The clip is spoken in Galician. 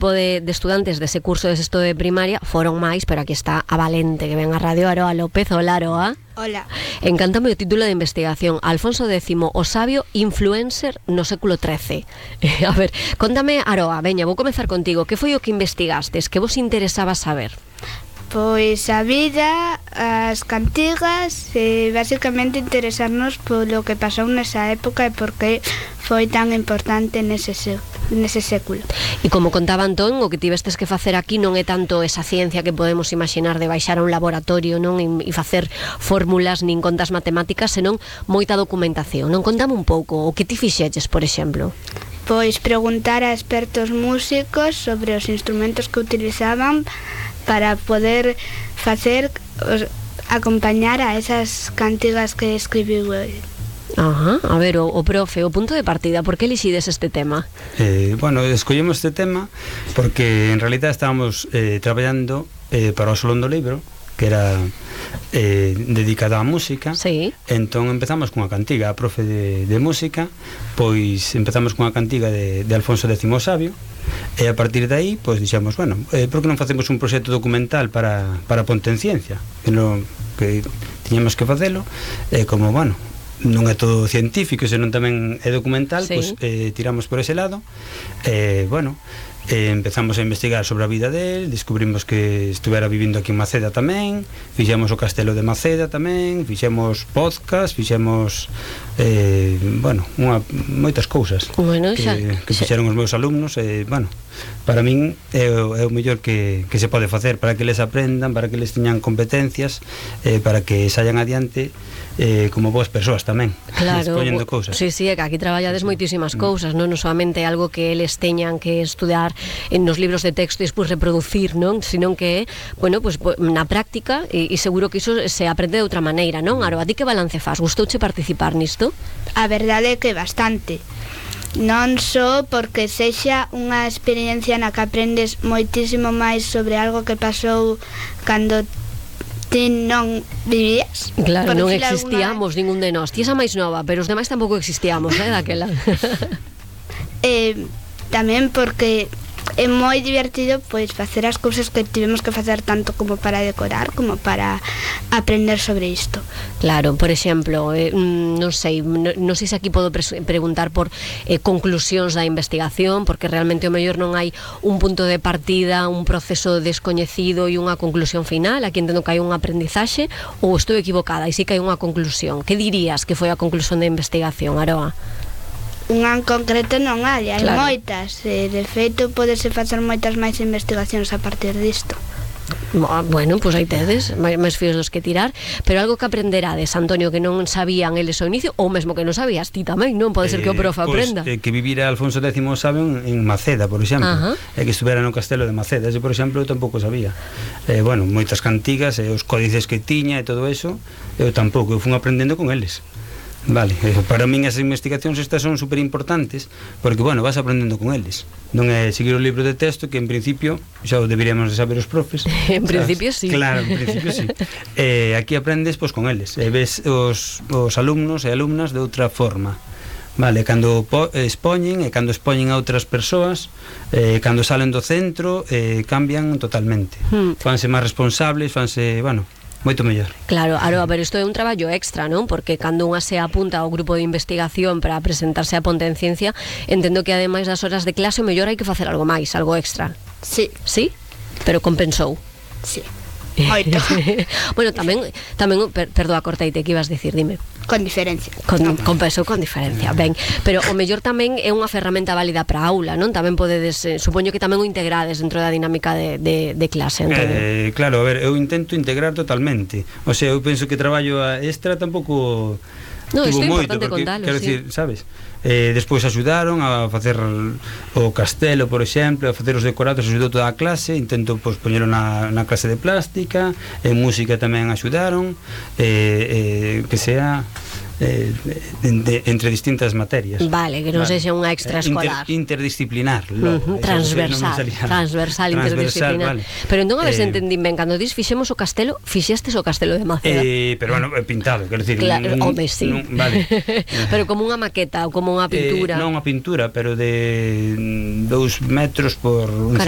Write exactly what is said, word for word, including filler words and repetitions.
De, de estudantes dese curso de sexto de primaria foron máis, pero aquí está a Valente que ven a Radio Aroa López. Hola, Aroa. Hola. Encántame o título de investigación: Alfonso décimo, o sabio influencer no século trece. A ver, contame, Aroa, veña, vou comezar contigo. Que foi o que investigastes? Que vos interesaba saber? Pois a vida, as cantigas e basicamente interesarnos polo que pasou nesa época e por que foi tan importante nese, nese século. E como contaba Antón, o que tivestes que facer aquí non é tanto esa ciencia que podemos imaginar de baixar a un laboratorio, non, e facer fórmulas nin contas matemáticas, senón moita documentación. Non, contame un pouco o que ti fixeches, por exemplo. Pois preguntar a expertos músicos sobre os instrumentos que utilizaban para poder facer, acompañar a esas cantigas que escribiu ele. Ajá, a ver, o, o profe, o punto de partida, por que elixides este tema? Eh, bueno, escollemos este tema porque en realidad estábamos eh, traballando eh, para o Salón do Libro, que era eh, dedicado á música. Sí. Entón empezamos cunha cantiga. A profe de, de música, pois empezamos cunha cantiga de, de Alfonso décimo Sabio, e a partir de aí, pois dixemos, bueno, eh, por que non facemos un proxecto documental para, para Ponte en Ciencia, que, non, que tiñamos que facelo, e eh, como, bueno, non é todo científico, senón tamén é documental, sí. Pois eh, tiramos por ese lado, e, eh, bueno, eh, empezamos a investigar sobre a vida del, descubrimos que estuvera vivindo aquí en Maceda tamén, fixemos o castelo de Maceda tamén, fixemos podcast, fixemos eh, bueno, unha, moitas cousas bueno, que, xa, que fixeron os meus alumnos, e, bueno, para min é o, é o mellor que, que se pode facer para que les aprendan, para que les teñan competencias, eh, para que saian adiante eh, como boas persoas tamén, claro, expoñendo cousas. Sí, sí, é que aquí traballades moitísimas cousas, non non solamente algo que eles teñan que estudar en nos libros de texto e despois reproducir, non, senón que, bueno, pues, na práctica, e, e seguro que iso se aprende de outra maneira, non? Aro, a ti que balance faz? Gustouche participar nisto? A verdade é que bastante. Non só porque sexa unha experiencia na que aprendes moitísimo máis sobre algo que pasou cando ti non vivías. Claro, non existíamos alguna... ningún de nós. Ti esa máis nova, pero os demais tampouco existíamos, eh, daquela. eh, tamén porque é moi divertido pois facer as cousas que tivemos que facer tanto como para decorar como para aprender sobre isto. Claro, por exemplo, eh, non sei, non, non sei se aquí podo pre- preguntar por eh, conclusións da investigación, porque realmente o mellor non hai un punto de partida, un proceso descoñecido e unha conclusión final. Aquí entendo que hai un aprendizaxe, ou estou equivocada e sí que hai unha conclusión. Que dirías que foi a conclusión da investigación, Aroa? Unha en concreto non hai, hai claro. moitas, e de feito podese facer moitas máis investigacións a partir disto. Bueno, pois pues aí tedes máis, máis fíos dos que tirar, pero algo que aprenderades, Antonio, que non sabían eles ao inicio, ou mesmo que non sabías ti tamén, non? Pode ser que o profe eh, aprenda. Pues, eh, que vivira Alfonso décimo Sabio en Maceda, por exemplo, e que estuvera no castelo de Maceda. Ese, por exemplo, eu tampouco sabía. Eh, bueno, moitas cantigas, e eh, os códices que tiña e todo eso, eu tampouco, eu fun aprendendo con eles. Vale, para min as investigacións estas son super importantes porque, bueno, vas aprendendo con eles. Non é seguir o libro de texto que en principio xa o deberíamos de saber os profes. En principio sí. Claro, en principio sí. eh, Aquí aprendes pois con eles, e ves os, os alumnos e alumnas de outra forma. Vale, cando po, expoñen e cando expoñen a outras persoas, eh, cando salen do centro, eh, cambian totalmente. Hmm. Fanse máis responsables, fanse, bueno, moito mellor. Claro, Aroa, pero isto é un traballo extra, non? Porque cando unha se apunta ao grupo de investigación para presentarse a Ponte en Ciencia, entendo que ademais das horas de clase, o mellor hai que facer algo máis, algo extra. Sí. Sí? Pero compensou. Sí. Moito. Bueno, tamén, tamén per, perdoa, corteite, que ibas dicir, dime. Con diferencia. Con, no. Compensou con diferencia, ben. Pero o mellor tamén é unha ferramenta válida para a aula, non? Tamén podedes, eh, supoño que tamén o integrades dentro da dinámica de, de, de clase, Antonio. Eh, claro, a ver, eu intento integrar totalmente. O sea, eu penso que traballo a extra tampouco... No, isto é moito, importante porque, contalo, quero sí. decir, sabes? Eh, despois axudaron a facer o castelo, por exemplo, a facer os decorados, axudou toda a clase, intento pois, poñelo na, na clase de plástica, en música tamén axudaron, eh, eh, que sea... Eh, de, de, entre distintas materias. Vale, que non vale. Sexa unha extraescolar. Inter, interdisciplinar. Uh -huh. Transversal. No transversal, interdisciplinar. Vale. Pero entón, a ver eh, se entendín ben, cando dis fixemos o castelo, fixestes o castelo de Maceda. Eh, pero bueno, pintado, quero dicir, claro, un, home, sí. Un, vale. Pero como unha maqueta ou como unha pintura. Eh, non unha pintura, pero de dous metros por un Carai.